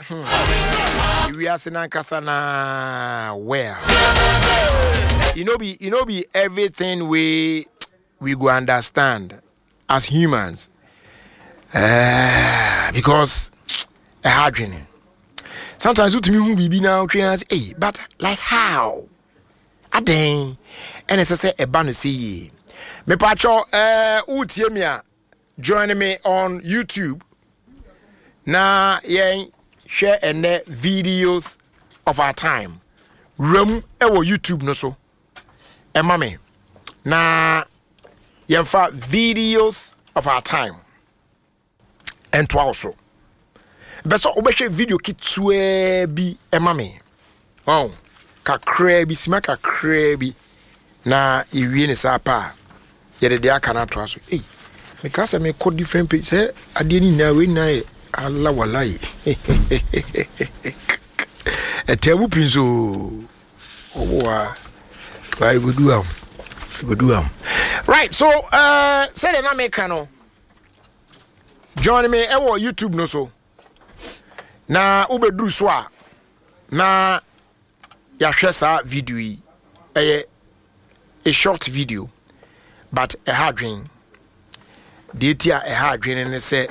Wiase nankasa na well. You know be everything we go understand as humans. Because ɛha adwene. Sometimes wotumi hu biribi na wotwe ase, hey, but like how? Adɛn ɛna ɛsɛ sɛ ɛba no sɛ yie? Mepatwɔ wotie me a, join me on YouTube na yɛn hwɛ ɛnɛ Videos of Our Time. Wuram ɛwɔ YouTube no so ɛma me na yɛmfa Videos of Our Time ɛntoa wo so. Bɛ sɛ wobɛhwɛ video ketewaa bi ɛma me ɔn kakraa bi, sima kakraa bi, na yɛwie ne saa pa a, yɛde deɛ aka no atoa so. Ei, meka sɛ mekɔ different page sɛ adeɛ no nyinaa wei nyinaa yɛ ala walai ɛtaa mu pii nso ɔwɔ a why go do am, go do am right. So sɛdeɛ na meka no, join me ɛwɔ YouTube no so na wobɛduru so a na yɛahwɛ saa video yi. Ɛyɛ a short video, but ɛha adwen. Deɛ ti a ɛha adwen ne sɛ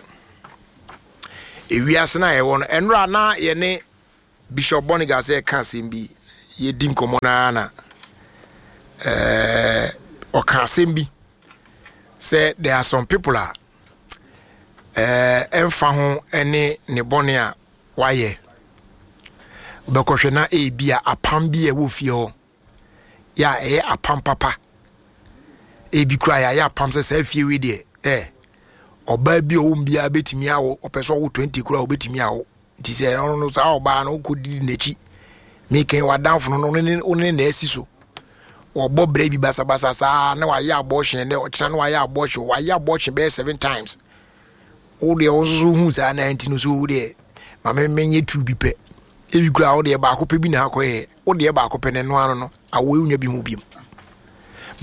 ewiase no a yɛwɔ no, ɛnora na yɛne Bishop Boniga sɛ ɛka asɛm bi, yɛdi nkɔmmɔ no na ɔka asɛm bi sɛ there are some people a ɛmfa ho ne ne bɔne a wayɛ, wobɛkɔhwɛ na ebi a apam bi a ɛwɔ fie hɔ yɛ a ɛyɛ apam papa. Ebi kura yɛayɛ apam sɛ saa fie wei deɛ, ɔbaa bi a ɔwɔ mu biara bɛtumi awo, ɔpɛ sɛ ɔwo 20 kura ɔbɛtumi awo. Nti sɛ ɔno no saa ɔbaa no wokɔ didi n'akyi, mekɛn w'adamfo no no ne ne na asi so wɔbɔ brɛ bi basabasa saa na wayɛ abortion dɛ ɔkyena na wayɛ abortion, wayɛ abortion bɛyɛ seven times. Wo deɛ wo nso hu saa na nti no so wo deɛ ma me menyɛ tu bi pɛ. Ebi kura wo deɛ baako pɛ bi na akɔyɛ, wo deɛ baako pɛ ne no ano no awo ewunya bi ho bi.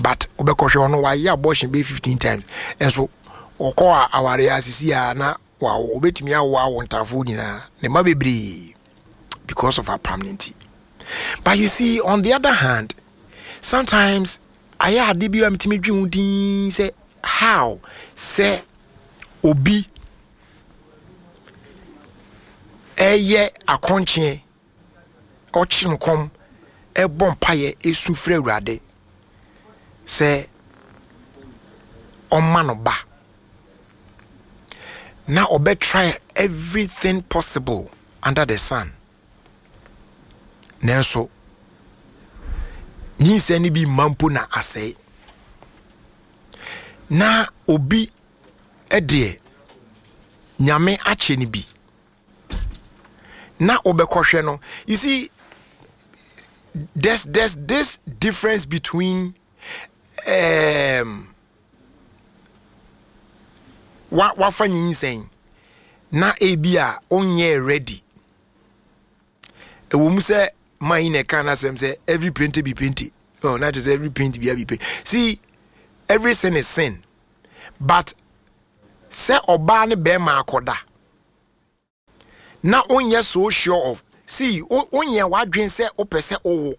But wobɛkɔhwɛ ɔno wayɛ abortion bɛyɛ 15 times, ɛnso ɔkɔ a aware asisi a na wawo, obetumi awo awo ntafoɔ nyinaa ne mma bebree because of apam ne nti. But you see, on the other hand, sometimes ayɛ ade bi a metumi dwe ho din sɛ how sɛ obi ɛyɛ akɔnkyeɛ, ɔkyerɛ nkɔm, ɛbɔ mpaeɛ, esu frɛ Awurade sɛ ɔma no ba, na ɔbɛ try everything possible under the sun, nanso nyinsɛn no bi mma mpo na asɛe. Na obi deɛ Nyame akyɛ no bi na wobɛkɔhwɛ no, you see, there's this difference between wafa nyinsɛn na ebi a onyɛ ready. Ɛwɔ mu sɛ man yi na ɛka n'asɛm sɛ every paint be paint. Oh, not just every paint be paint. See, every sin is sin, but sɛ ɔbaa ne bɛrima akɔda na wonyɛ so sure of, see, wonyɛ w'adwen sɛ wopɛ sɛ wowo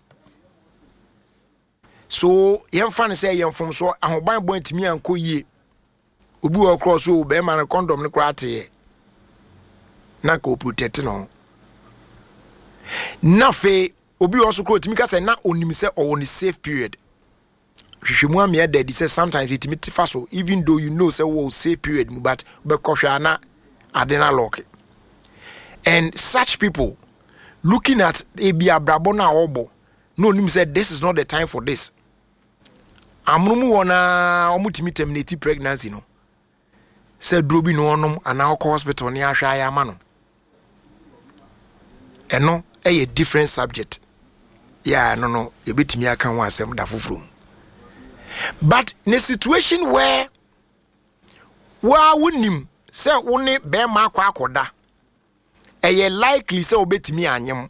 so, yɛmfa no sɛ yɛn mfomsoɔ ahobanbɔ ntumi ankɔ yie. Obi wɔ korɔ so bɛrima no condom no koraa teɛ na nka ɔprotect no ho. Na afei obi wɔ so korɔ otumi ka sɛ na onim sɛ ɔwɔ ne safe period. Hwehwɛmu amea da adi sɛ sometimes ɛtumi te fa so, even though you know sɛ wɔ safe period mu, but bɛkɔhwɛ a na ade no alɔke. And such people, looking at ebi abrabɔ no a ɔbɔ na onim sɛ this is not the time for this, amono mu hɔ naa wɔtumi terminate pregnancy no sɛ duro bi na ɔnom anaa ɔkɔ hospital ne ahwɛ ayɛ ama no. Ɛno ɛyɛ different subject yɛ a ɛno no yɛbɛtumi aka ho asɛm da foforɔ mu. But ne situation where waa wonim sɛ wo ne bɛrima akɔ akɔda, ɛyɛ likely sɛ wobɛtumi anyem,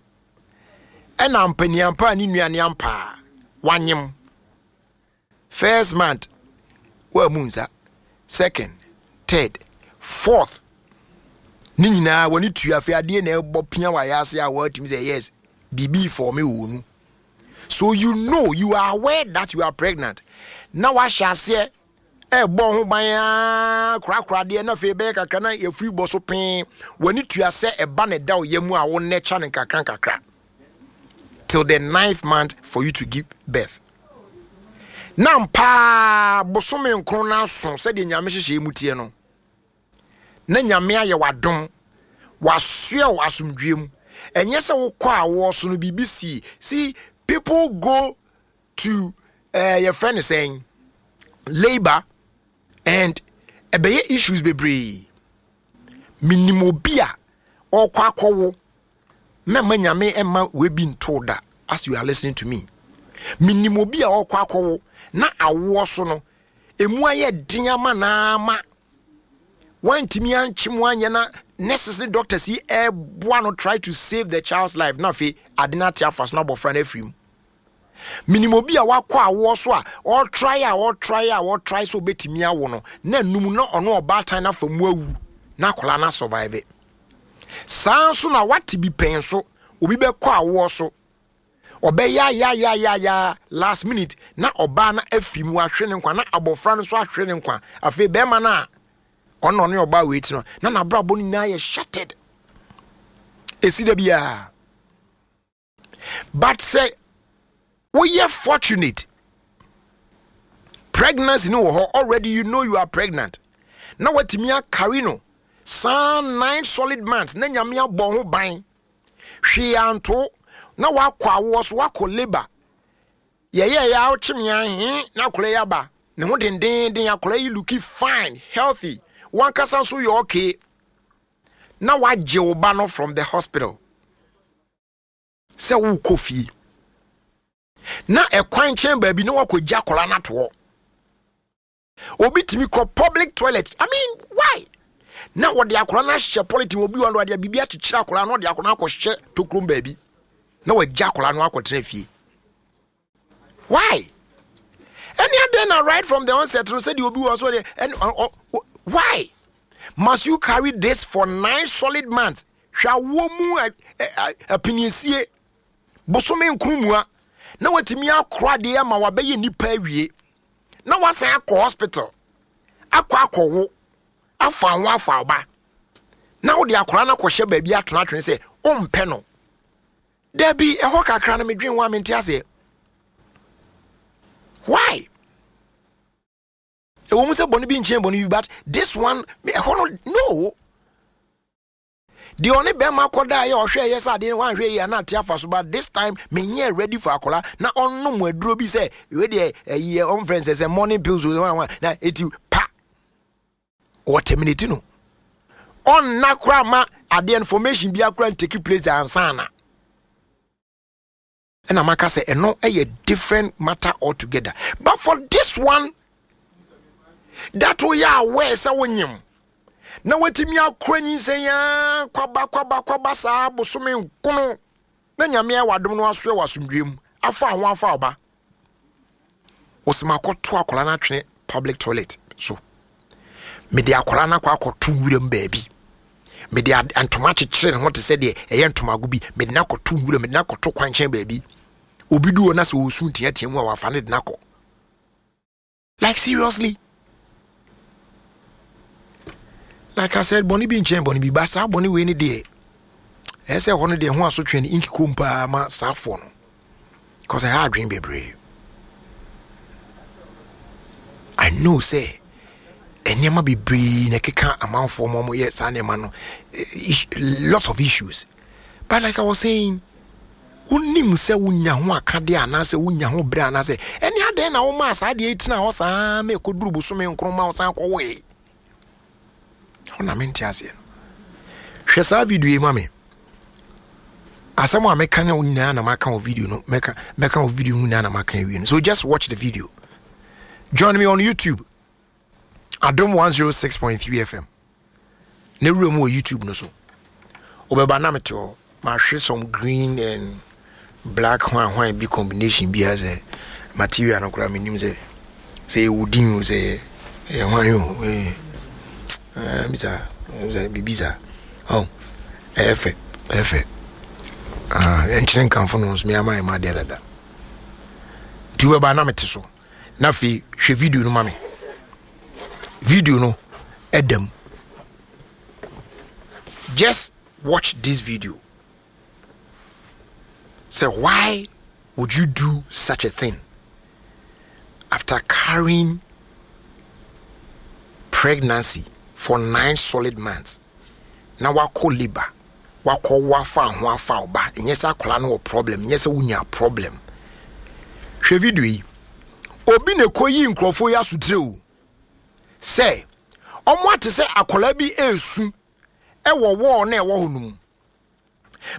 ɛna mpaniampa a ne nua ne ampa a wanyem first month woamu nsa, second, third, fourth. Ne nyinaa w'ani tua afei adeɛ na ɛbɔ pia wɔ ayɛ ase a wɔatumi sɛ yes biribi fɔme wɔ mu. So you know you are aware that you are pregnant. Na wahyɛ aseɛ ɛbɔ ho ban ara korakora adeɛ na afei bɛyɛ kakra na yɛfiri bɔ so pee w'ani tua sɛ ɛba na ɛda wo yam a wo nɛkya no nkakra nkakra till the ninth month for you to give birth. Na mpaa bosome nkron no aso sɛdeɛ Nyame hyehyɛ mu teɛ no na Nyame ayɛ w'adom wasoɛ wo asomdwie mu ɛnyɛ sɛ wokɔ a wɔso no biribi si see people go to yɛfrɛ no sɛn labour and ɛbɛyɛ issues bebree menim obi a ɔkɔ akɔwo mɛma Nyame ɛma webi nto da as you are listening to me menim obi a ɔkɔ akɔwo na awoɔ so no emu ayɛ den ama na ama wantumi ankye mu anyɛ na nurses ne doctors yi ɛboa no try to save the child's life na afei ade no ate afa so na abɔfra no afiri mu Menim obi a wakɔ awoɔ so a ɔtrae a ɔtrae a ɔtrae sɛ ɔbɛtumi awo no na num na ɔno ɔbaatan no afa mu awu na akwadaa no asurvive. Saa nso na wate bi pɛn nso obi bɛkɔ awoɔ so ɔbɛyayayayaya last minute na ɔbaa no afiri mu ahwere ne nkwa na abɔfra no nso ahwere ne nkwa afei bɛrima no a ɔno ɔne ɔbaa wei ti no na n'abrabɔ no nyinaa yɛ shattered. Ɛsi da biara. But sɛ woyɛ fortunate pregnancy no wɔ hɔ already you know you are pregnant na watumi akari no saa nine solid months na Nyame abɔ ho ban hwee anto na wakɔ awoɔ so wakɔ labour yɛyɛ yɛ awokye me ahe na akɔla yi aba ne ho dendenden akɔla yi looking fine healthy wankasa nso yɛ okay na wagye wo ba no from the hospital sɛ wokɔ fie na ɛkwan nkyɛn baabi na wakɔgya akwadaa no ato hɔ obi tumi kɔ public toilet i mean why na wɔde akwadaa no ahyɛ polythene obi wɔn de biribi akyekyere akwadaa no wɔde akwadaa no akɔhyɛ tokurom baabi na wɔagya akwadaa no akɔtena fie Why? Ɛne adɛn na right from the onset no sɛdeɛ obi wɔ so deɛ ɛne why must you carry this for nine solid months? Hwɛ awoɔ mu apiniesie bosome nkron mua na watumi akora adeɛ ama wabɛyɛ nipa awie na wasan akɔ hospital akɔ akɔwo afa ho afa ɔba na wode akora no akɔhyɛ baabi atona atwene sɛ wompɛ no. Dabi, ɛhɔ kakra no medwen ho a mente aseɛ. Why? Ɛwɔ mu sɛ bɔne bi nkyɛn bɔne bi but this one ɛhɔ no no. Deɛ ɔne bɛrima kɔda yɛ ɔhwɛ yɛ sɛ adeɛ wanhwɛ yi a na ate afa so but this time menyɛ ready for akɔla na ɔnom aduro bi sɛ wei deɛ ɛyi ɔmfrɛ nsɛ sɛ morning pills o na eti pa wɔ terminate no ɔnna koraa ma adeɛ information bi akora ntake place ansa na ɛna maka sɛ ɛno ɛyɛ different matter altogether but for this one that woyɛ aware sɛ wonyem na watumi akora nyinsɛn aa kwaba kwaba kwaba saa bosome nkono na Nyame ayɛ w'adom no asoɛ wɔ asomdwie mu afa ho afa ɔba wɔsɛ makɔto akwadaa no atwene public toilet so mede akwadaa no akɔ akɔto nwuram baabi mede ntoma akyekyere ne ho te sɛ deɛ ɛyɛ ntomago bi mede no akɔto nwuram mede no akɔto kwankyɛn baabi obi du hɔ na sɛ ɔresu nteatea mu a wafa no de no akɔ. Like seriously? Like I said, bɔne bi nkyɛn bɔne bi ba saa bɔne wei ne deɛ ɛyɛ sɛ ɛhɔ no deɛ ho asotwe no inki kom paa ma saa foɔ no cause ɛha adwene bebree. I know sɛ nneɛma bebree na ɛkeka amanfoɔ ma wɔyɛ saa nneɛma no eh, lots of issues But like I was saying, wonim sɛ wonya ho akadeɛ anaasɛ wonya ho berɛ anaasɛ ɛne adɛn na womaa saa adeɛ yi tena hɔ saa ma ɛkɔduru bosome nkron ma wosan kɔwoe hɔ na mente aseɛ no hwɛ saa video yi ma me asɛm a meka ne nyinaa na maka wɔ video no mɛka mɛka wɔ video no nyinaa na maka awie no so just watch the video join me on youtube adom 106.3 fm na wura mu wɔ youtube no so wobɛba na mete hɔ mahwe some green and black hwan hwan bi combination bi sɛ material no koraa menim sɛ sɛ yɛ wodin o sɛ yɛ hwan o eh, bisa sɛ biribi saa. Oh, ɛyɛ fɛ, ɛyɛ fɛ. Ah, ɛnkyerɛ nkamfo no nso me ama ɛma adeɛ dada. Nti wobɛba na mete so. Na afei hwɛ video no ma me. Video no ɛda mu. Just watch this video. Say, why would you do such a thing after carrying pregnancy for 9 solid months? Na wakɔ labour, wakɔ wafa ho afa ɔba, ɛnyɛ sɛ akwadaa no wɔ problem, ɛnyɛ sɛ wonya problem. Hwɛ video yi. Obi na ɛkɔ yi nkurɔfoɔ yi asotire o, sɛ ɔmo ate sɛ akwadaa bi esu ɛwɔ wall na ɛwɔ hɔ no mu,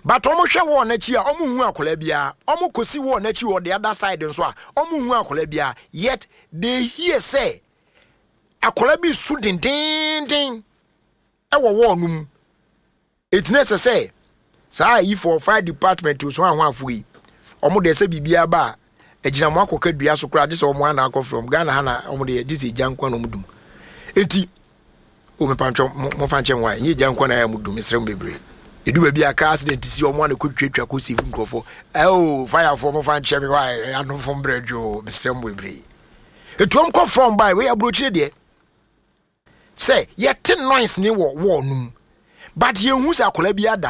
but ɔmo hwɛ wall n'akyi a, ɔmo hu akwadaa biara. Ɔmo kɔsi wall n'akyi wɔ the other side nso a, ɔmo hu akwadaa biara, yet they hear sɛ akwadaa bi su dendenden ɛwɔ wall no mu. Eti na ɛsɛ sɛ saa ayifoɔ, fire department osu ahoafo yi, ɔmo deɛ, sɛ biribiara ba a, agyina mo akɔka dua so koraa, gye sɛ ɔmo ana akɔfrɛ ɔmo. Ghana ha na ɔmo deɛ, gye sɛ egya nko na ɔmo dum. Eti o, mepantwɔ mo fa nkyɛn wa, nye egya nko na ɛyɛ mo dum. Mesrɛ mo bebree. Edu baabi a car accident si, ɔmo ana kɔ twatwa kɔ save nkurɔfoɔ. Ɛo, firefoɔ, mo fa nkyɛn mi wa, anomfo mbrɛ dwo. Mesrɛ mo bebree. Etu ɔmo kɔ frɔm baa wei aburokyire deɛ, sɛ yɛte noise ne wɔ wall no mu, but yɛnhu sɛ akwadaa bi ada.